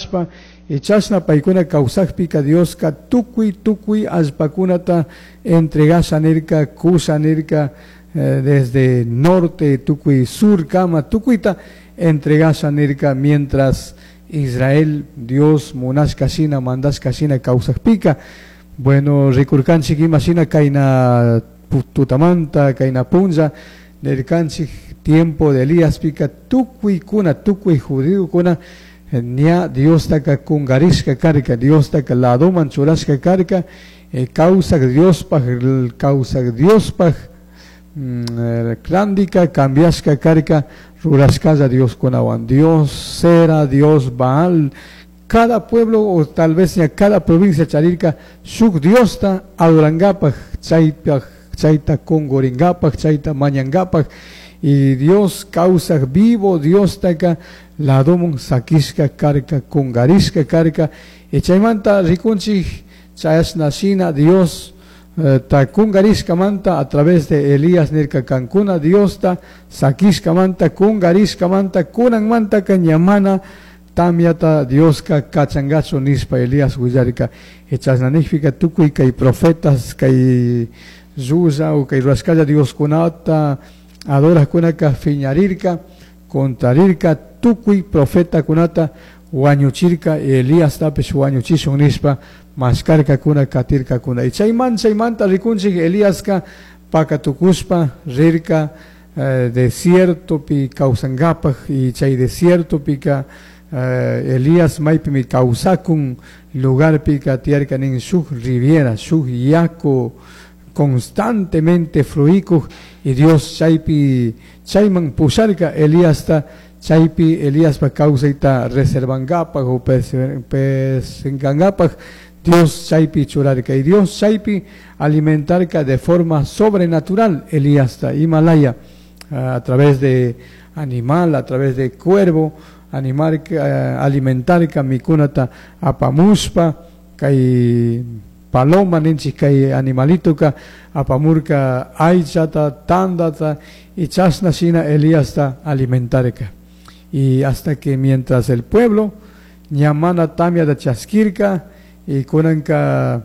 Rurashpa y chashna paykuna kawsakpika Dioska tukuy tukuy allpakunata entregasha nirka, kusha nirka, desde norte tukuy surkama tukuyta entregasha nirka mientras Israel Dios munashka shina, mandashka shina kawsakpika. Bueno, rikurkanchik ima shina kayna tutamanta, kayna punlla nirkanchik tiempo de Eliaspika tukuykuna, tukuy judiokuna ña Diostaka kungarishka karka, Diostaka ladoman churashka karka, kawsak Diospaj, kawsak Diospaj randika cambiashka karka rurashkalla Dioskunawan, Dios Sera, Dios Baal, cada pueblo o tal vez ya cada provincia charirka shuk Diosta adorangapak, chaypaj, chayta kunguringapak, chayta mañangapak, y Dios kawsak vivo Diostaka ladomun sakishka karka, kungarishka karka, y chaymanta rikunchik chayashna shina Dios ta kungarishkamanta a través de Elías nirka kankuna Diosta sakishkamanta kungarishkamanta kunanmantaka ñamana tamyata Dioska kachangachu nishpa Elías willarka. Y chashna nijpika tukuy kay profetas kay llulla o kay rurashkalla Dioskunata adorajkunaka fiñarirka, contrarirka, tukuy profetakunata wañuchirka, Eliastapish wañuchishun nishpa mashkarkakuna, katirkakuna. Y chayman chaymanta rikunchik Eliaska pakatukushpa rirka desiertopi kawsankapak, y chay desiertopika Elías maypimi kawsakun lugarpika tiyarka nin shuk riviera, shuk yaku constantemente fluikuj, y Dios chaypi chayman pusharka Eliasta chaypi Eliaspa kawsayta reservankapak o persenkankapak Dios chaypi churarka, y Dios chaypi alimentarka de forma sobrenatural Eliasta Himalaya a través de animal, a través de cuervo, animar, alimentarka mikunata apamushpa kay paloma ninchik kay animalituka apamurka aychata, tandata, y chashna shina Eliasta alimentarka. Y hasta que mientras el pueblo ñamana tamia de chaskirka y kunanka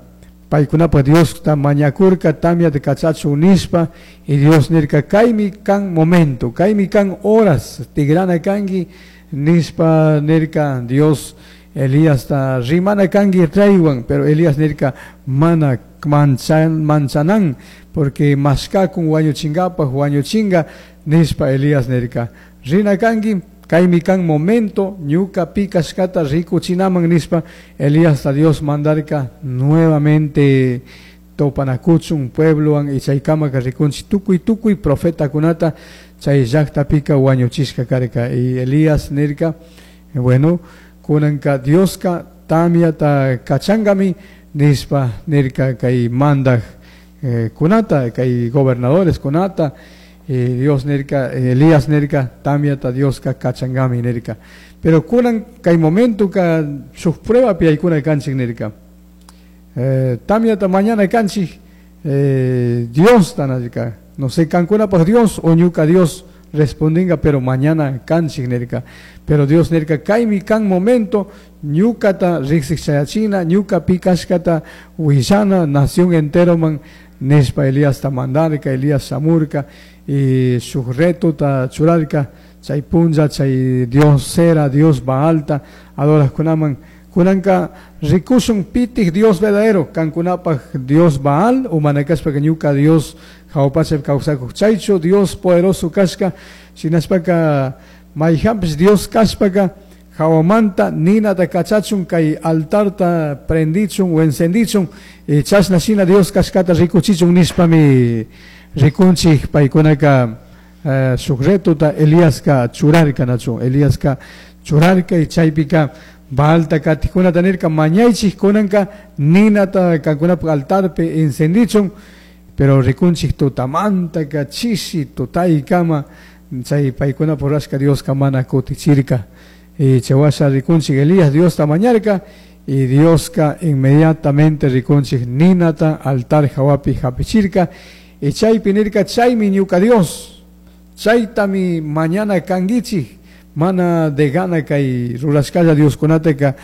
paykunapa Diosta mañakurka tamia de kachachu nishpa, y Dios nirka kaymi kan momento, kaymi kan horas tigrana kanki nishpa nirka Dios Eliasta rimana kanki reywan, pero Elías nirka mana manchanan porque mashkakun wañuchinkapaj wañuchinga nishpa Elías nirka rina kanki kaymi kan momento ñuka pikashkata rikuchinaman nishpa Eliasta Dios mandarka nuevamente topanakuchun pueblowan y chaykamaka rikunchik tukuy tukuy profetakunata chay llaqtapika wañuchishka karka. Y Elías nirka, bueno, kunanka Dioska tamyata kachangami nishpa nirka kay mandak kunata, kay gobernadores kunata, y Dios nirka, Elías nirka tamyata Dioska kachangami nirka. Pero kunan kay momento ka shuk prueba pi aykuna kanchik nirka. Tamyata mañana kanchik, Dios tanarka, no sé kankunapaj Dios o ñuka Dios respondinga, pero mañana kanchik nirka. Pero Dios nirka kaymi kan momento ñukata riksik chayachina, ñuka pikashkata willana nación entero man nishpa Eliasta mandarka, Elías shamurka y shuk retota churarka chay punlla chay Dios Sera, Dios Baalta adorajkunaman. Kunanka rikushun pitik Dios verdadero, kankunapaj Dios Baal, o manakashpaka ñuka Dios jawpachapi kawsakuj chaychu Dios poderoso kashka, shinashpaka mayjanpish Dios kashpaka jawamanta ninata kachachun kay altarta prendichun o encendichun, y chashna shina Dios kashkata rikuchichun nishpami rikunchik paykunaka shuk retota Eliaska churarka nachu, Eliaska churarka y chaypika Baalta katikunata nirka mañaychik kunanka ninata kankunapaj altarpi encendichun, pero rikunchik tutamantaka chishi tutaykama chay paykunapaj rurashka Dioska mana kutichirka. Y chaywasha rikunchik Elías Diosta mañarka y Dioska inmediatamente rikunchik ninata altar hawapi hapichirka y chaypi nirka chaymi ñuka Dios, chaytami mañana kankichik, mana de gana kay rurashkalla Dioskunataka.